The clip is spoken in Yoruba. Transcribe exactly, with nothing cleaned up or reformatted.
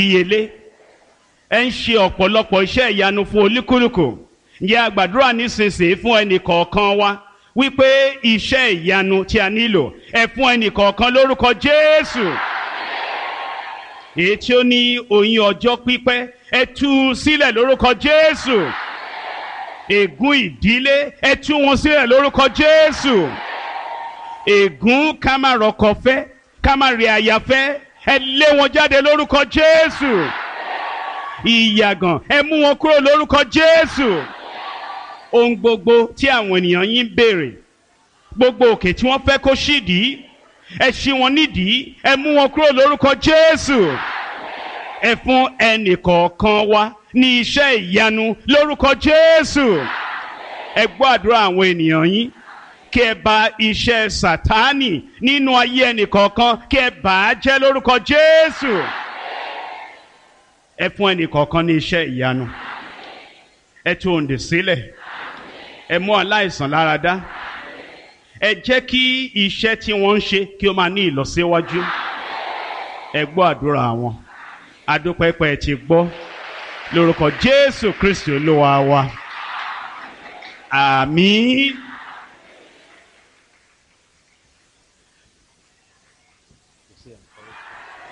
Ìdíyelé ẹ ń ṣe ọ̀pọ̀lọpọ̀ iṣẹ́ ìyanu fún olúkúlùkù. Ǹjẹ́ a gbàdúrà nísinsìnyí fún ẹnì kọ̀ọ̀kan wa wípé iṣẹ́ ìyanu tí a nílò, ẹ fún ẹnì kọ̀ọ̀kan lórúkọ Jésù. Èyí tí ó ní oyún ọjọ́ pípẹ́, ẹ tú u sílẹ̀ lórúkọ Jésù. Ègún ìdílé, ẹ tú wọn sílẹ̀ lórúkọ Jésù. Ègún ká má rọkọ fẹ́, ká má rí aya fẹ́, ẹ lé wọn jáde lórúkọ Jésù. Ìyàgàn, ẹ mú wọn kúrò lórúkọ Jésù. Ohun gbogbo tí àwọn ènìyàn yín ń béèrè, gbogbo òkè tí wọ́n fẹ́ kó ṣídìí, ẹ ṣí wọn nídìí, ẹ mú wọn kúrò lórúkọ Jésù. Ẹ fún ẹnì kọ̀ọ̀kan wa ní iṣẹ́ ìyanu lórúkọ Jésù. Ẹ gbọ́ àdúrà àwọn ènìyàn yín, kí ẹ bà iṣẹ́ Sátánì nínú ayé ẹnì kọ̀ọ̀kan, kí ẹ bà á jẹ́ lórúkọ Jésù. Ẹ fún ẹnì kọ̀ọ̀kan ní iṣẹ́ ìyanu. Ẹ tú òǹdè sílẹ̀. Ẹ mú aláìsàn lára dá. Ẹ jẹ́ kí iṣẹ́ tí wọ́n ń ṣe kí ó máa ní ìlọsíwájú. Ẹ gbọ́ àdúrà wọn. Adúpẹ́pẹ́ ti gbọ́ lórúkọ Jésù Kristi Olúwa wa. Àmín.